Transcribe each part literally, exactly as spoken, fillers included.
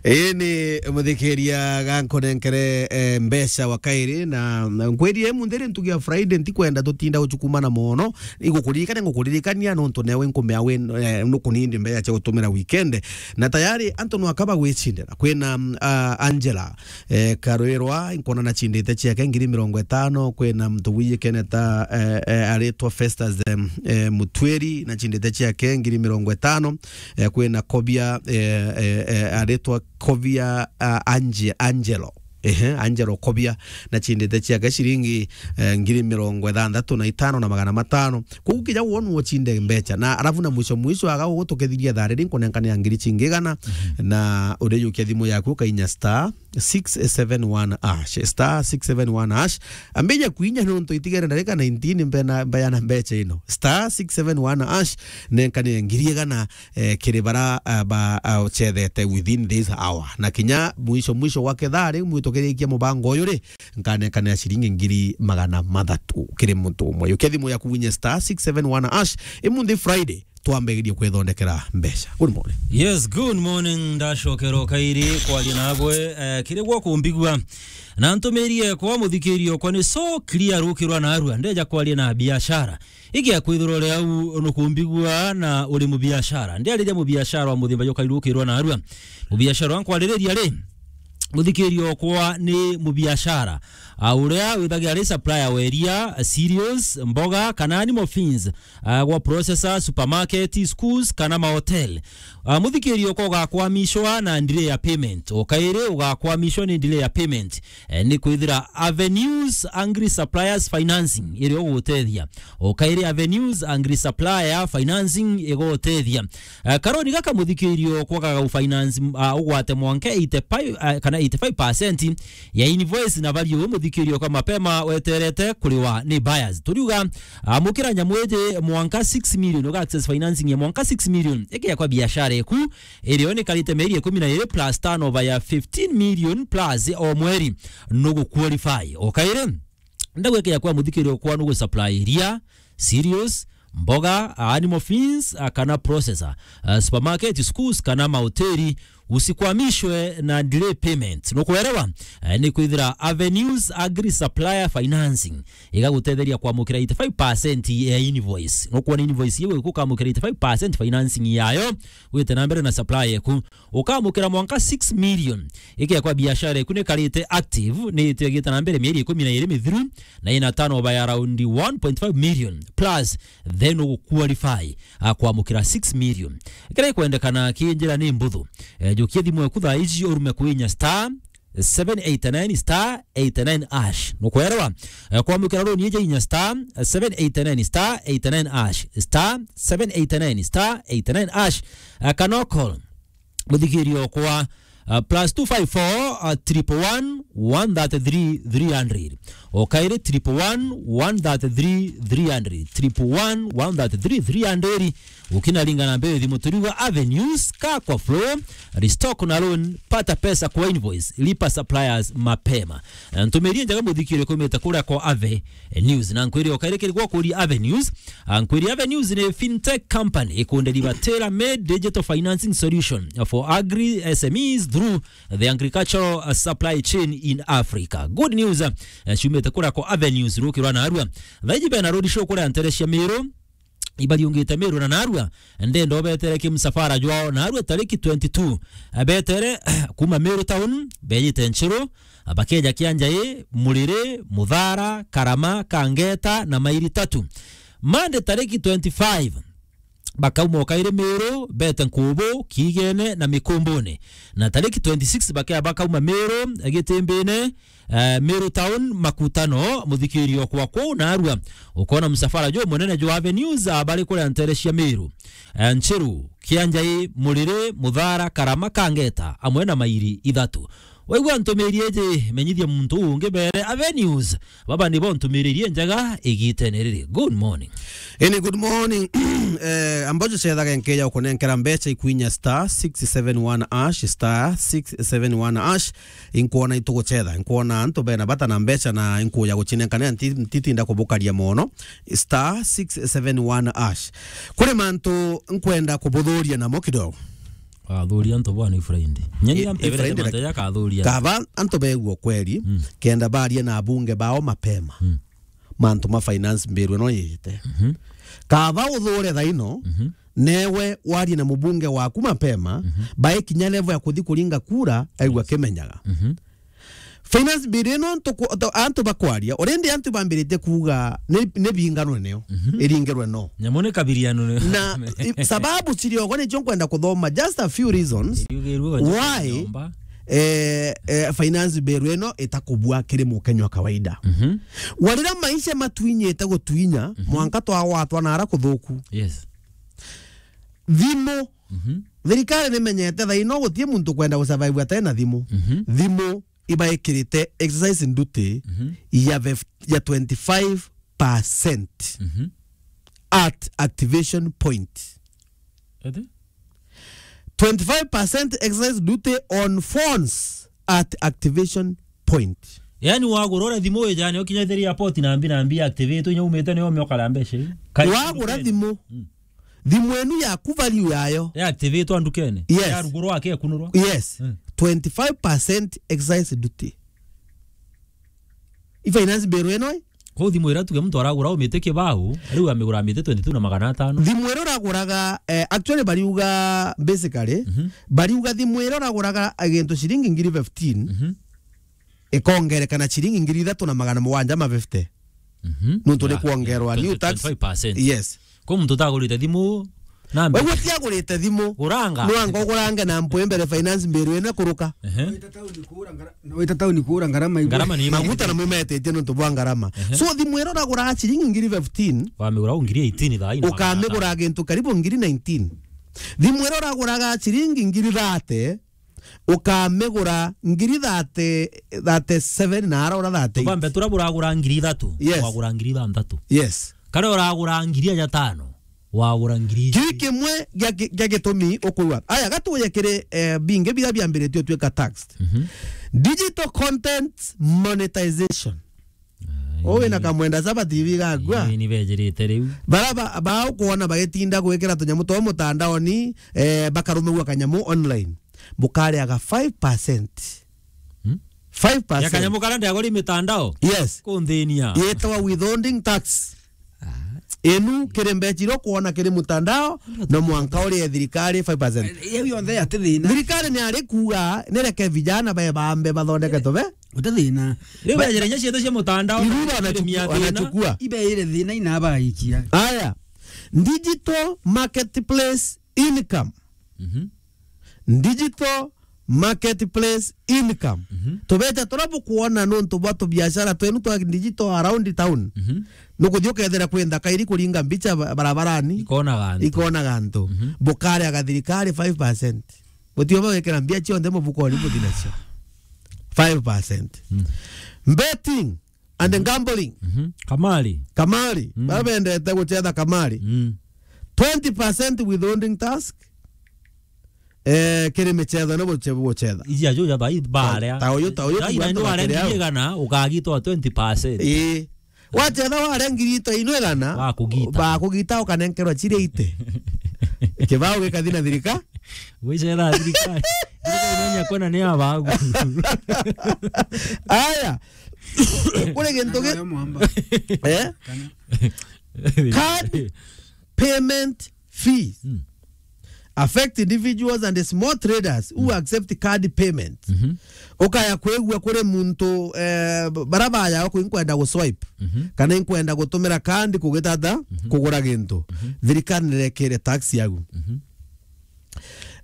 Ii ni muthikiria gankunenkere, eh, mbeca wa kairi, na, na nkwiri imunthi ri ntugi ya Friday, ntikwenda tutinda gucukumana mono. Igukuririkania, ngukuririkania nontu newe nkumea wi, eh, nukunindi mbeca cia gutumira weekend. Na tayari antu nwakaba gwicindira. Kwina, mm, ah, Angela, eh, Karwirwa, nkwona nachindite ciake ngiri mirongo itano. Kwina muntu wijikene ta, eh, eh, aritwa Festus, em, eh, Mutwiri, nachindite ciake ngiri mirongo itano. Eh, kwina Kobia, eh, eh, eh, aritwa Kobia, ah, Ange-, Angelo. Ehe, Angelo Kobia, nachindite ciake ciringi, eh, ngiri mirongo ithanthatu na itano na magana matano. Kogu kija wonwa uchinde mbeca. Na alafu na mwisho mwisho aga ugutukethiria thaa riri nkunenkania ngiri cingi igana. Mhm. Na urijukia thimu yaku ukainya star six seven one hash. Star six seven one hash. Ambija kuinya nontu itigere ndarika nineteen mbena, mbeana mbeca ino. Star six seven one hash, nenkanie ngiri igana, eh, kiri bara, ah, ba, ah, uchethete within this hour. Na kinya mwisho, mwisho wa kethaa riu mwitukirikie mubango uyu ri, nkanekanira ciringi ngiri magana mathatu kiri muntu umwe. Yukia thimu yaku winye star six seven one hash, imunthi Friday, twambigirie kwithondekera mbeca. Good morning. Yes, good morning. Ndacokera o kairi kwaria nagwe, eh, kiri gwa kumbigua. Na ntumirie kwa muthikirio kwa ni so clear rukirwa na arua. Ndeja kwaria na biashara. Igia kwithirwa uri au nukumbigua na uri mubiashara. Ndiariria mubiashara wa muthimba jukairukirwa na arua. Mubiashara wa nkwariria ri, muthikirio kwa ni mubiashara, ah, uria withagia ari supplier wa iria, cereals, mboga, kana animal feeds, ah, gwa processor, supermarket, schools, kana mahotel. Ah, muthikirio kwa ugakwamishwa na delay ya payment. O kairi ugakwamishwa ni delay ya payment. Eh, ni kwithira Avenues Agri Suppliers Financing iri ugutethia. O kairi Avenues Agri Supplier Financing igutethia. Eh, karoni gaka muthikirio kwa gaga finance, ah, ugwate mwanka eighty-five, ah, kana eighty-five percent ya invoice na value muthikirio kwa mapema weterete kuriwa ni buyers. Turiuga, ah, mukira nyamu iji mwanka six million, uga access financing ya mwanka six million. Ikia kwa biashara eku, irio ni karite mieri ikumi na iri plus turnover ya fifteen million plus o mweri, nugu qualify. O kairi, ndagwekea kwa muthikirio kwa nugu supply iria, cereals, mboga, animal feeds, ah, kana processor, ah, supermarket, schools, kana mahoteli, usikwamishwe na delay payment. Nukuelewa? Eh, ni kwithira Avenues Agri Supplier Financing igagutetheria kwamukira eighty-five percent ya invoice. Nukwona invoice iu iku ukamukira eighty-five percent financing yayo, wite na mbere na supply eku. Ukamukira mwanka six million. Ikia kwa biashara eku ni karite active, ni itiagite na mbere mieri ikumi na iri mithiru, na ina turnover ya around one point five million plus, then ugu qualify, ah, kwamukira six million. Kira ikwendekana ki njira ni mbuthu. Eh, jukia thimu eku thaa iji urume kwinya star seven eight nine star eight nine hash. Nukwelewa? Eh, kwamukira loan iji inya star seven eight nine star eight nine hash. Star seven eight nine star eight nine hash. Eh, kana call muthikirio kwa, uh, plus two five four, uh, triple one, one thirty-three, three hundred. O kairi triple one, one thirty-three, three hundred. Triple one, one thirty-three, three hundred. Ukina ringa na mbere thimu turiuga Avenues, ka kwa flow, restock na loan, pata pesa kwa invoice, lipa suppliers mapema. Eh, ntumirie njega muthikirio kumite kuria kwa Ave News. Na nkwiri o kairi kiri gwa kuri Avenues. Ah, nkwiri Avenues ni fintech company ikundeliver tailor-made digital financing solution for agri S M Es through the agricultural, uh, supply chain in Africa. Good news, uh, ciumite kuria kwa Avenues rukirwa na arua. Thaiji bena road show kuria ntere cia Meru. Ibariungite Meru na narua, ndenda obetere kimsafara jwao narua tariki twenty-two. Abetere kuma Meru town, bejite Nchiru, abakeja Kianjai, Muriri, Muthara, Karama, Kangeta na Mairi Tatu. Monday tariki twenty-five, bakauma o kairi Meru, bete Nkubu, Kiigene na Mikumbune. Na tariki twenty-six bakea bakauma Meru, Gitimbine, eh, Meru town, Makutano, muthikirio kwa kuu na arua. Ukona msafara juu munene jwa Avenues, ah, bari kuria ntere cia Meru. Eh, Nchiru, Kianjai, Muriri, Muthara, Karama, Kangeta, amwe na Mairi Ithatu. Waigua ntumiri iji, menyithia muntu ungi bere Avenues. Baba nibo ntumiririe njega igitene riri. Good morning. Any good morning. Eh, ambojo cethaga nkeja ukunenkera mbeca ikwinya star six seven one hash, star six seven one hash. Inkwona itugucetha, inkwona antu bena bata na mbeca na inkuja gucinenkanira nti-, ntitinda kubukaria mono. Star six seven one hash. Kuri mantu nkwenda kubuthuria namo kidogo. Athuria antu bwa ni Friday. Nyeni Eh, ya eh, mpebere Friday mantu na ya kathuria. Kaba antu begua kweli, Mm. kenda baria na abunge bao mapema. Mm. Mantu ma finance bill ino yite. Mhm. Kaba uthure thaino, Mhm. newe warie na mubunge waku mapema, Mhm. bae kinya level ya kuthi kuringa kura, aigua kimenyaga. Mhm. Finance bill ino ntuku-, to-, antu bakwaria, already antu bambiritie kuuga ni, ni binganwe nio, Mhm. iringirwe no. Nyamu ni kabiriano ni. Na, i-, sababu ciriogo nicio nkwenda kuthoma, just a few reasons Iriugirwe why, nyomba. eh, eh, finance bill ino itakubua kiri Mukenya wa kawaida. Mhm. Warira maisha matwinyite gutwinya, Mhm. mwanka twagwatwa na ara kuthuku. Yes. Thimu. Mhm. Thirikari nimenyete thaino gutie muntu kwenda gusurvive atena thimu. Mhm. Thimu ibaikirite excise duty Mhm. ya fif-, ya twenty-five percent Mhm. at activation point. Ati? Twenty-five percent excise duty on phones at activation point. Yaani wagura ura thimu ijane ukinya thiri airport na mbi na mbi activate inya umite ni omio kara mbeca. Wagura thimu. Mm. Thimu enu yaku value yayo. Ya activate ndukene. Yes. Ya ruguru wake kunurwa. Yes. Mm. Twenty-five percent excise duty. I finance bill ino i? Ko thimu ira tuge muntu aragura umite kibau, riu amigura amite twenty-two na magana atano. Thimu ira uraguraga, eh, actually bariuga basically, Mhm. bariuga thimu ira uraguraga gintu ciringi ngiri fifteen, Mhm. ikongerekana ciringi ngiri ithatu na magana mugwanja ma fifty. Mhm. Nuntu ni Ya, kuongerwa ya, new tax. Twenty-five percent. Yes. Ko muntu utagurite thimu, na mbe- Wewe utiagurite thimu. Guranga. Nwanga ugurange na mpwe mbere finance bill ino kuruka. Ehe. Wita tauni kuura ngara-, na wita tauni kuura ngarama igwe. Ngarama ni Maguta na mumetitie nuntu bwa ngarama. Ehe. So thimu ira uragura ciringi ngiri fifteen. Wamigura ngiri eighteen thaa ino. Ukamigura gintu karibu ngiri nineteen. Thimu ira uraguraga ciringi ngiri thirty, ukamigura ngiri thirty, thirty-seven na ara ura thirty-eight. Tubambe tura buragura ngiri ithatu, Yes. wagura ngiri ithanthatu. Yes. Kare uragura ngiri ya tano, wagura ngiri Kiu kimwe gia ki-, gia gitumi ukuigua. Aya, gatuye kiri, eh, bingi biria biambiritie utwika taxed. Mhm. Digital content monetization. Ai. Uwe na kamwenda saba T V gagua. Ii, ni bejirite riu. Bara ba, ba ukwona bagitinda gwikira tunyamu twa mutandaoni, eh, bakarumigua kanyamu online. Bukariaga five percent. Hmm? Five percent. Ya kanyamu kara ndagori mitandao? Yes. Kundhinia. Yetwa withholding tax. Ah. Enu kiri mbeca iria ukwona kiri mutandao, no mwanka urie thirikari five percent. Yau yonthe ati thina. Thirikari ni ari kuuga, ni reke vijana bae bambe bathondeke tuve. Uti thina. Riu ba- bejere inya cietho cia mutandao, Iru na wanachukua, mia thina. Wanachukua. Ibeire thina inabaikia. Aya. Digital marketplace income. Mhm. Digital marketplace income. Mhm. Tubeca turia bukwona nuntu bwa tubiashara twenu twa digital around town. Mhm. Nukuthi ukethira kwi nthaka iri kuringa mbicha ba-, barabarani. Ikonaga antu. Ikonaga antu. Mhm. Bukariaga thirikari five percent. Butio bawikira mbia cionthe mufukoni buthi nacio. Five percent. Mm. Betting and gambling. Mhm. Kamari. Kamari. Mm. Baria bendete gucetha kamari. Mm. Twenty percent withholding tax. Eh, kiri micetho ni buce-, bucetha. Iji ajo ja bai baria. Ta uyu, ta uyu. Ina ndio ware ngiri igana, ukagitwa twenty percent. Ii. Wacetha ware ngiri ito ino igana, bakugita. Bakugita ukanenkerwa chiri ite. Kibao gikathi na thirika. Gwicetha thirikari. Thirikari inya kwena ni abagu. Aya. Kuri gintu gi-, Nayo mwamba. Eh? Kana. Card payment fees. Mm. Affect individuals and small traders who Mm. accept card payments. Mhm. Ukaya kwigua kuri muntu, eh, bara baya uku inkwenda gu swipe, Mhm. kana inkwenda gutumira card kugitata Mhm. kugura gintu. Mhm. Thirikari nirekire tax yagu. Mhm.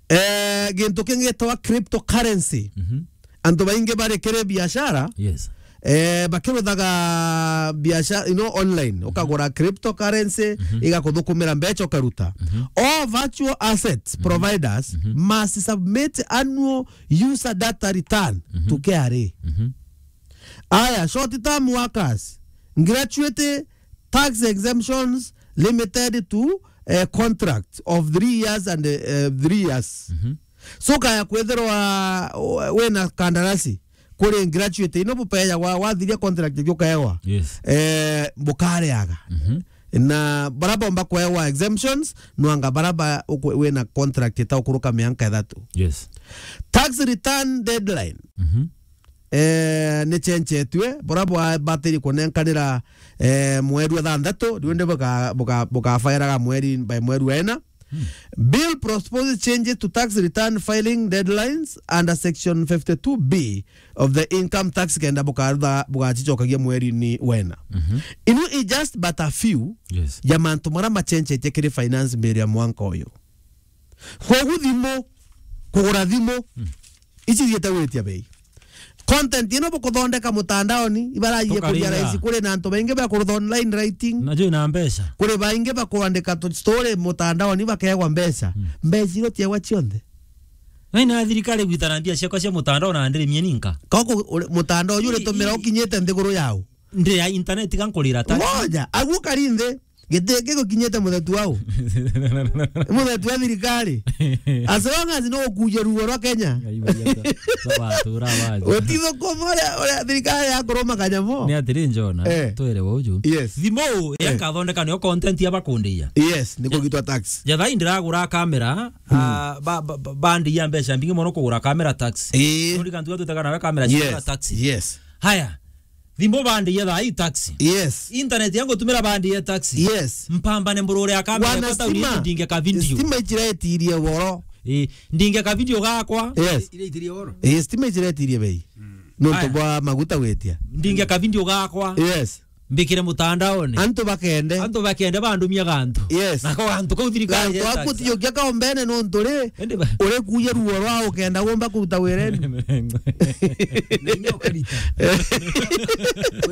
Eh, gintu kingi gitwa cryptocurrency. Mhm. Antu baingi bari kiri biashara, Yes. eh, bakiruthaga biashara, you know, online, ukagura cryptocurrency, Mhm. igakuthukumira mbeca ukaruta. Mhm. All virtual assets Mhm. providers Mhm. must submit annual user data return Mhm. to K R A. Mhm. Aya, short term workers, gratuity, tax exemptions limited to, eh, contracts of three years and, eh, three years. Mhm. So kaya kwithirwa, uh, wina kandarasi kuri gratuity ino bupeagwa, wathiria contract iu ukaewa. Yes. Eh, bukareaga. Mhm. Na bara bomba kwewa exemptions, nwanga bara ba, ukwe-, wina contract ita ukuruka mianka ithatu. Yes. Tax return deadline. Mhm. Eh, ni chenchetue, bura bwa-, batiri kunenkanira, eh, mweri wa thanthatu, riu ndi buka-, buka-, bukafairaga mweri, by mweri wa ina. Hmm. Bill proposes changes to tax return filing deadlines under section fifty-two B of the income tax kenda bukarutha, bugachichokagia mweri-ini wa ina. Mhm. Inu i just but a few, yes, ya mantu mara machenchetie kiri finance bill ya mwanka uyu. Kogu thimu, kugura thimu, hmm, ici thiete gwitia bei. Content ino bukuthondeka mutandaoni, ibaragie kuria, tukaringa, rahisi, kuri na antu baingi ba kurutha online writing. Najo ina mbeca. Kuri baingi ba kuandika tu story mutandaoni bakegwa mbeca. Hmm. Mbeca iro tiegwa cionthe. Na ina thirikari gwitana mbia ciakwa cia mutandao na ndirimie ninka. Koko uri-, mutandao uyu uritumira ukinyite nthiguru yao. Ndi ya internet ga nkurira taxi. Ngoja, agu kari nthi. Giti gigukinyite muthetu wau. Muthetu wa thirikari. As long as no ukuja ruo rwa Kenya. Ngai wa Yesu. Sawa, tura waje. Utithukuma uria, uria thirikari yakuruma kanyamo. Ni atiri Jona, eh, twere wa uju. Yes. Thimu, eh, yakathondeka niyo content ya bakundia. Yes, ni kugitwa tax. Jatha indiragura kamera, hmm, ah, ba, ba, ba, bandi ya mbeca mbingi mono kugura kamera tax. Eh. Uri kantu twitaga nawe kamera, yes, cia taxi. Yes. Haya. Thimu bandi ya thai taxi. Yes. Internet yangu tumira bandi ya taxi. Yes. Mpambane mburure ya kamera. Wana kwa tauni stima. Ndinge ka video. Stima ichiretirie woro. Eh, ndinge ka video gakwa. Yes. Ireitirie woro. Eh, stima ichiretirie bei. Mm. Nontu bwa maguta gwitia. Ndinge ka video gakwa. Yes. Mbikire mutandaoni. Antu bakende. Antu bakende bandumia gantu. Yes. Nako gantu kau thirikari. Gantu ya aku taxi. Tiyo kia kaombene nontu ri. Ende ba- Uri kuya ruo rwa ukenda gomba kuruta wireni. Na inya ukarita.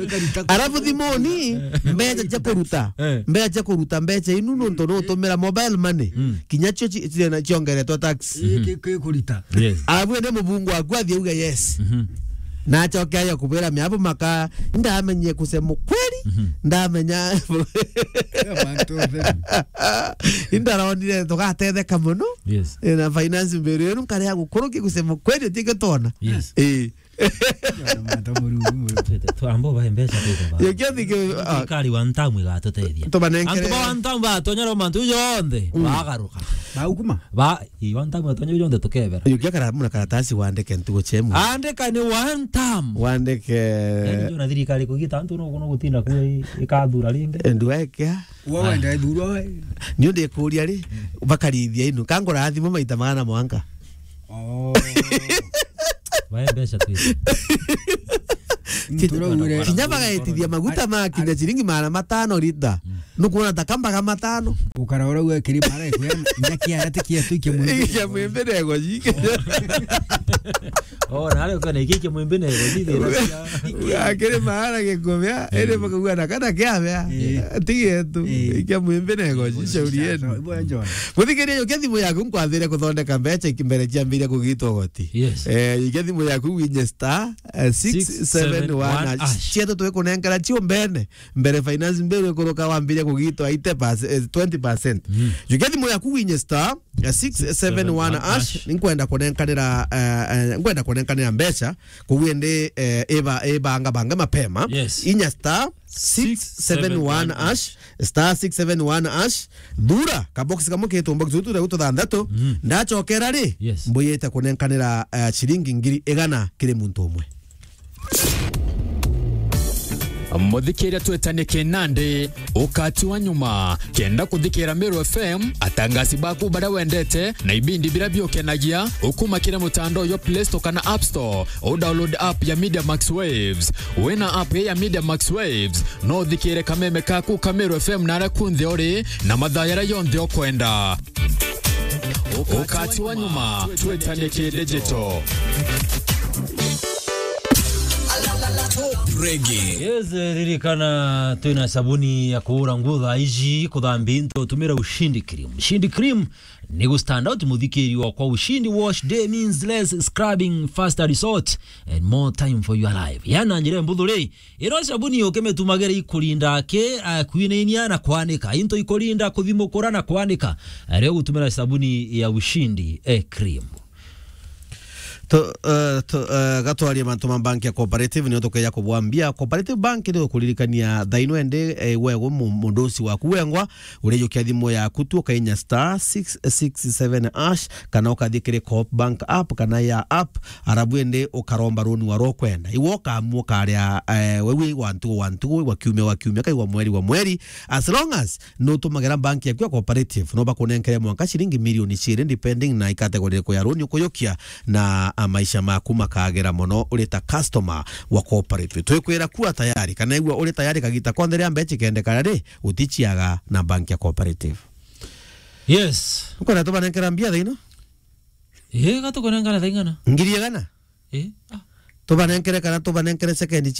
Ukarita. Arafu thimuni, mbeca cia kuruta. Eh. Mbeca cia kuruta, mbeca inu nontu nutumira mobile money. Mm. Kinya cio ci-, ci-, na ciongeretwe tax. Ii, ki-, ki-, kurita. Yes. Arafu ende mubungu waku athie uge yes. Mhm. Na acoke aja kubwira miabu maka, ndamenye kusema ukweli, mhm, ndamenya. Indaronire tugatetheka muno. Yes. Eh, na finance mberu yenu nkare ya gukuruki kusema ukweli utige tona. Yes. Eh. Mata mururu, mururu. Twambo ba mbeca twite ba. Yo kiathi ke, ah. Thirikari wa ntamu igatuteithia. Tubanenkere. Antu ba ntamu batonyera mantu jonthe, mm, bagaruka. Baukuma? Ba, i wa ntamu batonyera jonthe tukebera. Yo kia kara-, muna karatasi wandike ntugo chemu. Andika ni one time. Wandike. Yaani, ndio na thirikari kugita antu no, no gutinda kwe ikathura ringi. Ndwekea. Uwe wenda ithurwa we. Ni undi kuria ri, bakarithia inu. Kangura thimu maita magana mwanka. Oh. Bae mbeca tu ici. Turaugire. Kinya bagaitithia maguta ma kinya ciringi magana matano lita. Mm. Nukuona ta kambaga matano. Ukara ura uwe kiri mara ikuya, nja kia ati kia tu kia mwimbi. Kia mwimbi nego jike. Oh, na ale ukana iki kia mwimbi nego jike. Akiri mara gikubia, eh, ere bakauga na kana kia bia. Eh. Tige tu. Eh. Kia mwimbi nego jishauri yenu. Bwana John. Muthikiria, jukia thimu yaku nkwathire kuthondeka mbeca iki mbere ciambiria kugitwa goti. Yes. Eh, jukia thimu yaku winye star, eh, six seven one hash. Six seven one hash. Cietu twikunenkera ciumbene. Mbere finance mberu ikuruka wambiria kugitwa eighty percent, eh, twenty percent. Mm. Jukia thimu yaku winye star, eh, six seven one hash. Nkwenda kunenkanira, eh, eh, nkwenda kunenkanira mbeca. Koguo indi, eh, iba-, ibanga bange mapema. Yes. Inya star six seven one hash, star six seven one hash. Thura kabox kamwe kitu box utu reu tuthanthatu. Mm. Ndachokera ri, yes, mbuyite kunenkanira, eh, ciringi ngiri igana kiri muntu umwe. Muthikiria, twetanie kinandi. Ukati wa nyuma, kenda kuthikira Meru F M, atangasi baku baria wendete, na ibindi biria biukenagia, ukuma kiri mutandao jwa Play Store kana App Store, u download app ya Media Max Waves. Wina app ya Media Max Waves, no uthikire kameme kaku ka Meru F M na aria kunthe uri, na mathaa jaria jonthe ukwenda. Ukati wa nyuma, twetanie ki digital. Top Reggae. Yes, eh, ririkana twina sabuni ya kuura nguo thaa iji, kuthambia into, tumira Ushindi Cream. Ushindi Cream ni gu stand out, muthikiri wakwa. Ushindi Wash Day means less scrubbing, faster result, and more time for your life. Yana njira mbuthu ri, ino sabuni ukimitumagira ikurinda ki, eh, kwinainia na kwanika. Into ikurinda kuthimukura na kwanika. Eh, rio gutumira sabuni ya Ushindi, eh, Cream. To, eh, to, eh, gatwarie mantu ma bank ya Cooperative, nio tukeja kubwambia. Cooperative Bank ni ukuririkania thaino ende, eh, wego mu-, mundu uci waku wengwa, urejukia thimu yaku tu, ukainya star six six seven hash, kana ukathii kiri Coop Bank app, kana ya app, arabu ende ukaromba runi wa rokwenda. Iwe ukaamua ukaria, eh, wewe wa ntugu wa ntugu, wa kiumia wa kiumia, kai wa mweri wa mweri, as long as nutumagira bank yaku ya Cooperative, no bakunenkere mwanka ciringi milioni ciiri, depending na category iriku ya runi ukujukia na, a, maisha maku makagira mono uri ta customer wa Cooperative. Twikwira kuwa tayari, kana igua uri tayari kagita konthe ria mbeca ikendekana ri, uticiaga na bank ya Cooperative. Yes. Ukwenda tubanenkera mbia thaino? Ii, gatukunenkana thaing'ana. Ngiri igana? Ii, ah. Tubanenkere kana tubanenkere sekendi ci